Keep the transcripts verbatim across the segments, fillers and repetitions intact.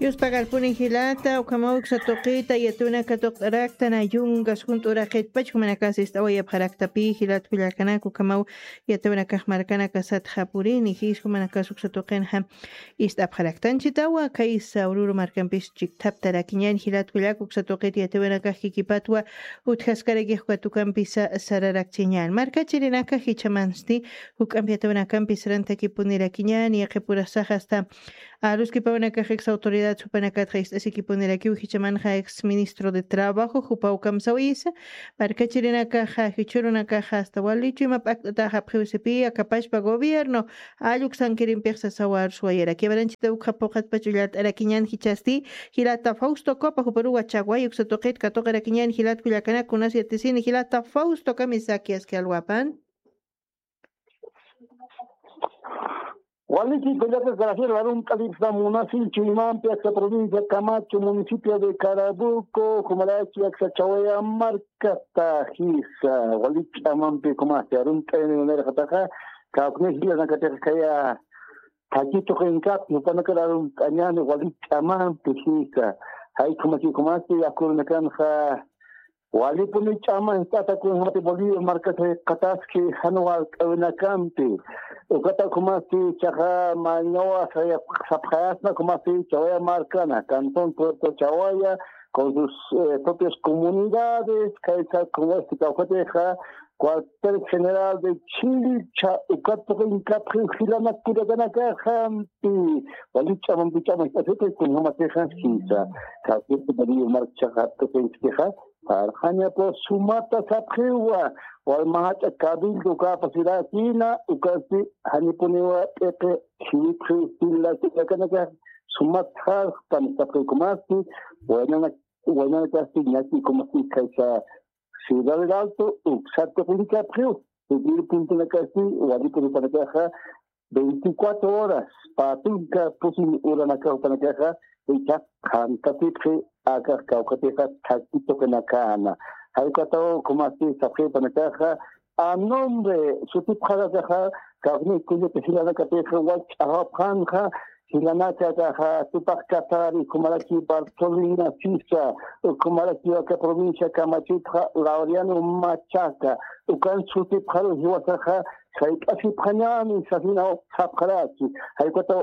Yuspagarpuni jilata, ukhamaw uksa tuqita yatuna katuqt'araktan ayunkas junt'uraqitpach jumanakas ist'awayapxaraktapi jilat kullakanak, ukhamaw yatuna kax markanakasat japurini jis jumanakas uksa tuqinxa ist'apxaraktanchitawa. Kaysa Oruro markampis chiktaptarakiñan jilat kullak uksa tuqit yatuna kax kikipatwa utjaskarakix uka tukampisa sararakchiñan. Markachirinaka jichamansti juk'ampi yatuna kampis rantakipunirakiñan yaqipurasaxa asta aruskipawnakax ex autoridad jupanakatxa ist'asikipunirakiw jichamanxa ex ministro de trabajo jupaw kamsawisa. Markachirinakaxa jichhurunakaxa asta walichu ima p'akt'atax apxiwsipi akapachpa gobierno alluk sankirimpix sasawa arsuwayaraki. Avaranchita ukxa puqatpach ullart'arakiñan jichhasti jilata Fausto Copa juparuwa chaway uksa tuqit katuqirakiñan jilat kullakanak kunas yatisini jilata Fausto kamisakiaski alwapan. Waliki kullaka Graciela Arunt'alipsa munasi chuymampi aksa provincia Camacho municipio de Carabuco jumarachi aksa chawaya markata jisa walich'amampi kumasi arunt'ayani unarixataxa kawkni jilanakatix kaya takitu qinkapi jupanakar arunt'añani walich'amampi jisa jay kumaki kumasi akurunakanxa Walipuni ch'ama jist'ata kunjamati Bolivia markata jikxataski jan walt'awinakampi. Ukata ukhumasti chaqa mañawa sapxayasna ukhumasti Chawaya markana, cantón Puerto Chawaya, con sus eh, propias comunidades, kaysa ukhumasti kawkatixa cuartel general de Chilcha, ukat tuqinkapxi jilana kullakanakaxampi. Wali ch'amampi ch'ama jist'atiti kunjamatixa jisa. Kawkiti Bolivia markchaxa tuqinchkixa. Parxañapu sumata sapxiwa, walmahach'a cabildo capacidad hina, ukasti janipuniwa p'iqi jiwipxi sila sila kanaka sumat jarxpan sapxikumasti, waynana waynanakasti ñakikumasti kaysa Ciudad del Alto, uksat tuqinkapxiw, sutiri puntunakasti, walipurupanakaxa, veinticuatro horas, patunka pusin uranakaw panakaxa, icha qantatipxi akax kawkatixa thaki tuqinakana. Jaykataw kumasti sapxipanakaxa a nombre sutipxarakaxa kawni kullaka jilanakatixa wach'axapxanxa jilanakakaxa tupax katari kumaraki Bartolina Sisa, kumaraki waka provincia kamachitxa Laureano Machaca, ukan sutipxaru jiwasaxa sayk'asipxañani sasinaw sapxaraki. Jaykataw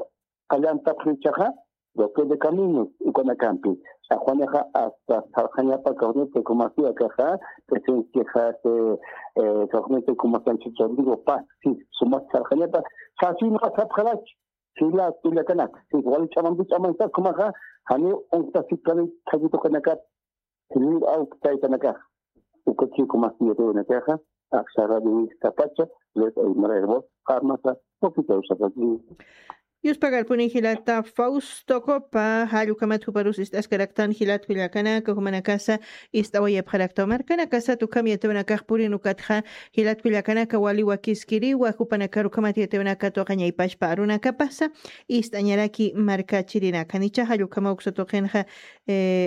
qallantapxichaxa bloque de caminos ukanakampi saxwanixa hasta sarxañapa kawnitu kumasiakaxa presenciaxa se saxwanitu kumasanchi Rodrigo Paz si sumat sarxañapa sasinxa sapxaraki. Sila kullakanak si wali ch'amampi ch'amansa kumaxa janiw unktasipkani thakituqinakat. Jilïr awk taytanakax ukachiku mas yatiyunakaxa aksaradi wistapacha les aymarayrbos armasa. Ukitawsakaki. Yuspagarpuni jilata Fausto Copa jallukhamat juparus ist'askaraktan jilat kullakanaka jumanakasa ist'awayapxaraktaw markanakasat ukham yatiyunakax purinukatxa jilat kullakanaka wali wakiskiriwa jupanakar ukhamat yatiyunaka tuqañaypashpa arunakapasa ist'añaraki markachirinaka nicha jallukhamawksa tuqinxa.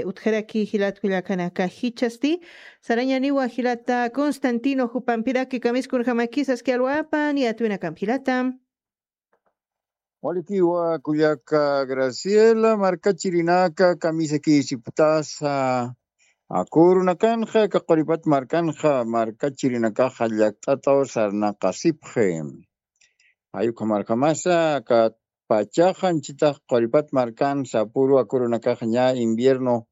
Utjaraki jilat kullakanaka jichhasti sarañaniwa jilata Constantino jupampiraki kamiskunjamakisas kialwapan yatwinakamp jilata. Walikiwa kullaka Graciela markachirinaka kamisakisiptasa akurunakanxa kaquripat markanxa markachirinakaxa llakt'ataw sarnaqasipxi. Jayukhamarkamasa kat pachaxa anchitax quripat markan sapuru akurunakax ña invierno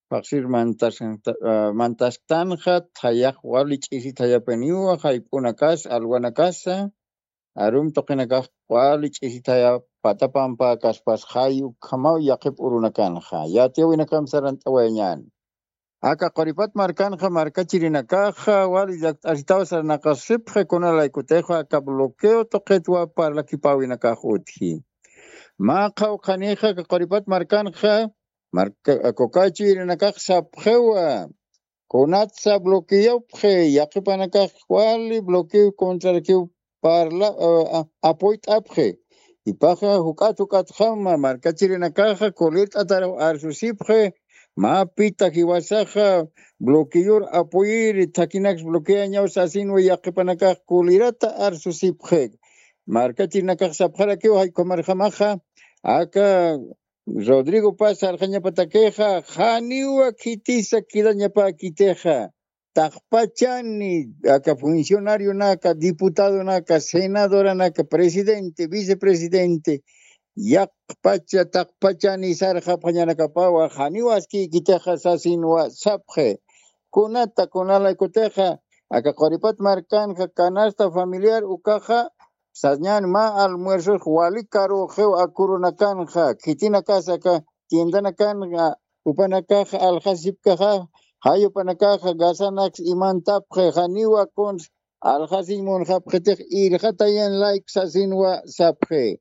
paqsir mantasktanxa thayax wali ch'isi thayapaniwa jayp'unakas alwanakasa arum tuqinakax wali ch'isi thaya patapampa kaspas jay ukhamaw yaqip urunakanxa yatiyawinakam sarant'awayañan. Aka quripat markanxa markachirinakaxa wali llakt'asitaw sarnaqasipxi kunalaykutixwa aka bloqueo tuqitwa parlakipäwinakax utji. Mä qhawqhanixa aka quripat markanxa marka kukachirinakax sapxiwa kunatsa bloqueopxi yaqipanakax wali bloqueo contrarakiw parla apoyt'apxi. Ipaxa juk'at juk'atxama markachirinakaxa kulirt'ataraw arsusipxi. Mä pita jiwasaxa bloqueor apoyiri thakinaks bloqueañaw sasinwa yaqipanakax kulirata arsusipxi. Markachirinakax sapxarakiw jaykumarjamaxa aka Rodrigo Paz sarxañapatakixa janiwa khitisa kidañapäkitixa taqpachani aka funcionarionaka diputadonaka senadoranaka presidente vicepresidente yaqpacha taqpachani sarxapxañanakapawa janiw askïkitixa sasinwa sapxi. Kunata kunalaykutixa aka quripat markanxa canasta familiar ukaxa sañan mä almuerzos wali karuxiw akurunakanxa khitinakasa aka tiendanakanxa upanakaxa alxasipkaxa jay upanakaxa gasanaks imantapxi janiwa kuns alxasiñ munxapxitix irxatayan layk sasinwa sapxi.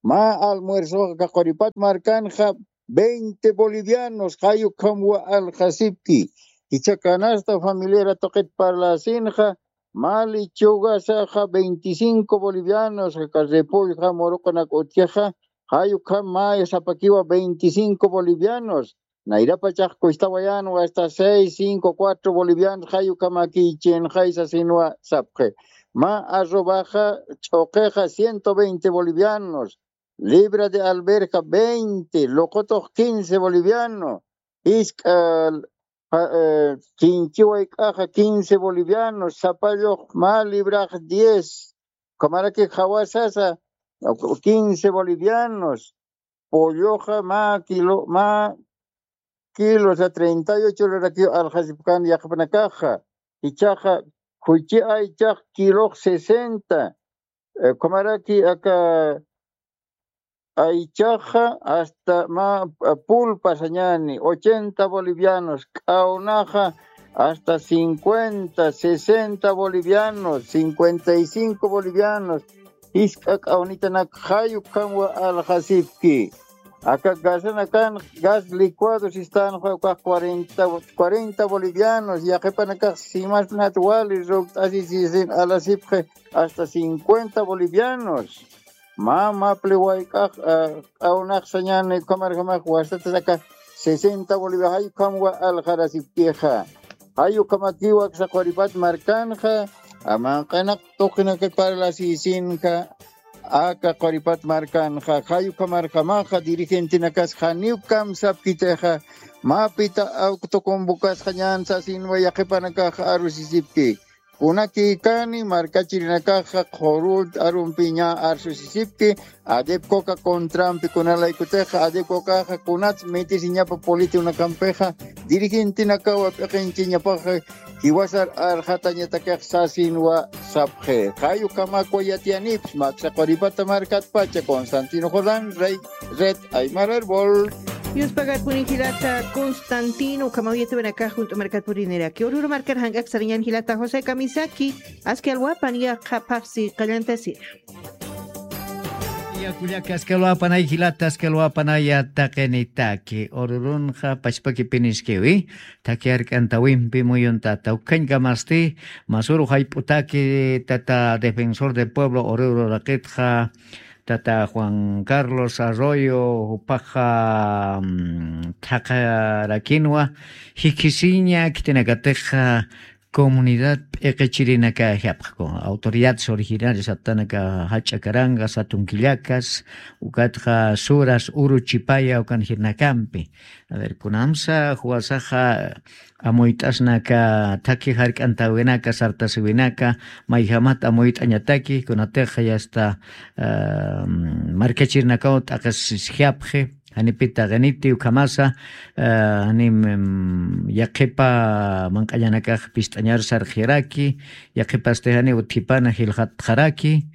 Mä almuerzoxa aka quripat markanxa veinte bolivianos jay ukhamwa alxasipki. Jichha canasta familiara tuqit parlasinxa mä lechugasaxa veinticinco bolivianos aka repollja muruqunak utjixa jay ukham mä sapakiwa veinticinco bolivianos. Nayrapachax kustawayanwa hasta seis cinco cuatro bolivianos jay ukhamakïchinxay sasinwa sapxi. Mä arrobaxa ch'uqixa ciento veinte bolivianos, libra de alberja veinte, luqutux quince boliviano, jisk'a kinchi wayk'axa quince bolivianos, sapallux mä librax diez, ukhamaraki jawasasa quince bolivianos, polloxa mä kilo mä kilo sa treinta y ocho lurakiw alxasipkan yaqpanakaxa. Ichaxa khuchi aychax kilox sesenta, ukhamaraki aka aychaxa hasta mä pulpa sañani ochenta bolivianos, k'awnaxa hasta cincuenta sesenta bolivianos, cincuenta y cinco bolivianos. Jisk'a k'awnitanak jay ukhamwa alxasipki. Aka gasanakan gas licuado sistanxa ukax cuarenta bolivianos, yaqhipanakax simasnat wali rukt'asisisin alasipxi hasta cincuenta bolivianos. Mä mapli wayk'ax k'awnax sañani ukhamarjamax wasatataka sesenta bolivias, jay ukhamwa alxarasipkixa. Jay ukhamakiwa aksa Quripat markanxa, manq'anak tuqinaka parlasisinxa, aka Quripat markanxa, jay ukhamarjamaxa dirigentenakas janiw kamsapkitixa, mapita awktu convocasxañan sasinwa yaqhipanakax arusisipki. Kunakïkani markachirinakaxa qhurut arumpiña arsusisipki, adepcoca contrampi kunalaykutixa adepcocaxa kunats mitisiñapa politikunakampixa dirigentenakawa p'iqinchiñapaxa jiwasar arxatañatakix sasinwa sapxi. Jay ukhamakwa yatiyanips, mä aksa Quripata markatpacha, Constantino Jordán, Rey, Red Aymara Erbol. Yuspagarpuni jilata Constantino, ukhamaw yatiyawinakax junt'u markat puriniraki. Oruro markar jank'ak sarañan jilata José Kamisaki, aski alwapan yaqha phaxsi qallantasina. Ya kullaka, aski alwapanay jilata, aski alwapanaya taqinitaki. Orurunxa pachpakipiniskiwi, thakhi jark'antawimpi muyuntata. Ukhañkamasti, masuru jayp'utaki, tata defensor del pueblo Oruro raqitxa, tata Juan Carlos Arroyo, jupaxa, mm, thaqharakinwa, jikhisiña khitinakatixa, comunidad p'iqichirinaka japxku, autoridades originarias aptanaka jach'a karanga, satun killakas, ukatxa suras, uru chipaya, ukan jirnakampi. A ver, kunamsa juwasaxa amuyt'asnaka, thakhi jark'antawinaka, sartasiwinaka, mayjamat amuyt'añataki, kunatixa yasta, ah, markachirinakaw t'aqis japxi, janipita qiniti ukhamasa, ah, jani, mm, yaqhipa manq'añanakax pist'añar sarxiraki, yaqhipasti jani utjipana jilxatxaraki,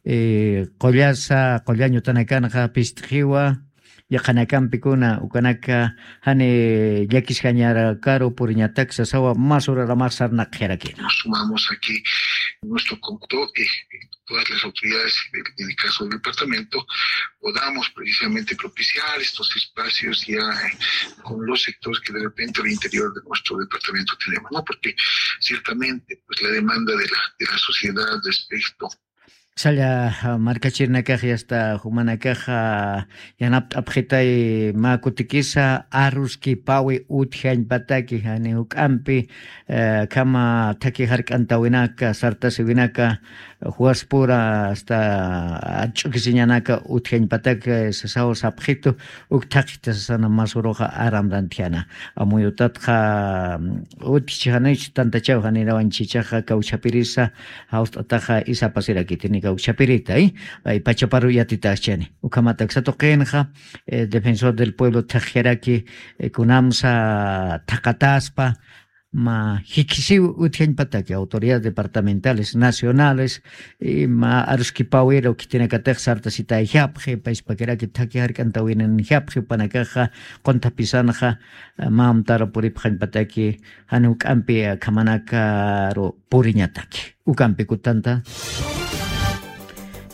eh, qullasa, qullañ utanakanxa pist'ixiwa, yaqhanakampikuna, ukanaka jani llakisjañarakaru puriñatak sasawa, mas uraramax sarnaqxirakina. Nos sumamos aquí nuestro conductor, eh, todas las autoridades, en el caso del departamento, podamos precisamente propiciar estos espacios ya, eh, con los sectores que de repente al interior de nuestro departamento tenemos, ¿no? Porque ciertamente, pues, la demanda de la, de la sociedad respecto. Salla, ah, markachirinakax yasta jumanakaxa, ah, yanapt'apxitay mä kutikisa, aruskipawi utjañpataki, jani juk'ampi, eh, khama thakhi jark'antawinaka, sartasiwinaka, juwaspura, hasta arch'ukisiñanaka utjañpatak, eh, sasaw sapxitu, uk thaqhita sasana mas uruxa aram rantjana. Amuyutatxa, mm, utjchi janich tantachaw janirawan chichaxa kawchapirisa, jawst'ataxa isapasirakitini kawchapirita, eh, ay pachaparu yatitaxchani. Ukhamat aksa tuqinxa, eh, defensor del pueblo thaqjaraki, eh, kunamsa thaqataspa, mä jikhisiw utjañpataki autoridades departamentales, nacionales, y mä aruskipawiru khitinakatix sartasitayjapxi, payspakiraki thakhi jark'antawininjapxi, panakaxa, qunthapisanxa, mä amtaru puripxañpataki, jani juk'ampi, eh, khamanakaru puriñataki. Ukampi kutanta.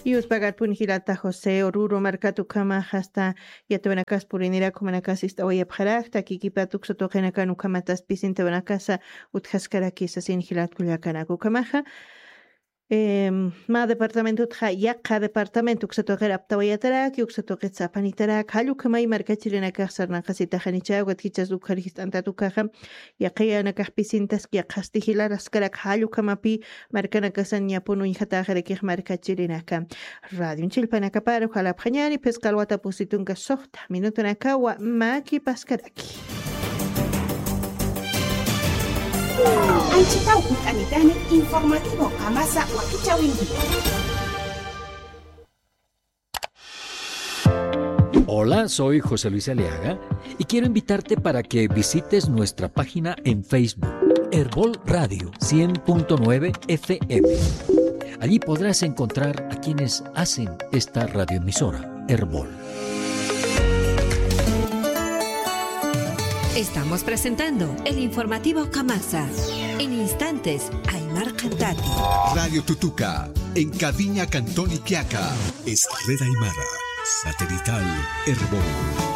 Yuspagarpuni jilata José, Oruro markat ukhamax hasta yatawinakas purinirak, jumanakas ist'awayapxarak, takikipat uksa tuqinakan ukhamatas pisintawinakasa utjaskarakisa sasin jilat kullakanak. Ukhamaxa, em, mä departamentotxa yaqha departamento uksa tuqir aptawayataraki, uksa tuqit sapanitaraki, jall ukhamay markachirinakax sarnaqasitaxanicha, ukat jichhas ukhar jist'antat ukaxa, yaqhiyanakax pisintaski, yaqhasti jilaraskarak, jall ukhamapi markanakasan ñapun uñjatäxirakix markachirinaka. Radion chillpanakaparu jalapxañäni, phisqa alwata pusi tunka suxta minutunakawa makipaskaraki. Anchhitaw uñt'anitani informativo Qamasa wakichäwinti. Hola, soy José Luis Aliaga y quiero invitarte para que visites nuestra página en Facebook, Erbol Radio cien punto nueve F M. Allí podrás encontrar a quienes hacen esta radioemisora, Erbol. Estamos presentando el informativo Qamasa. En instantes, Aymar Qantati. Radio Tutuka, en Caviña, Cantón Iquiaca. Es red aymara, satelital, Erbol.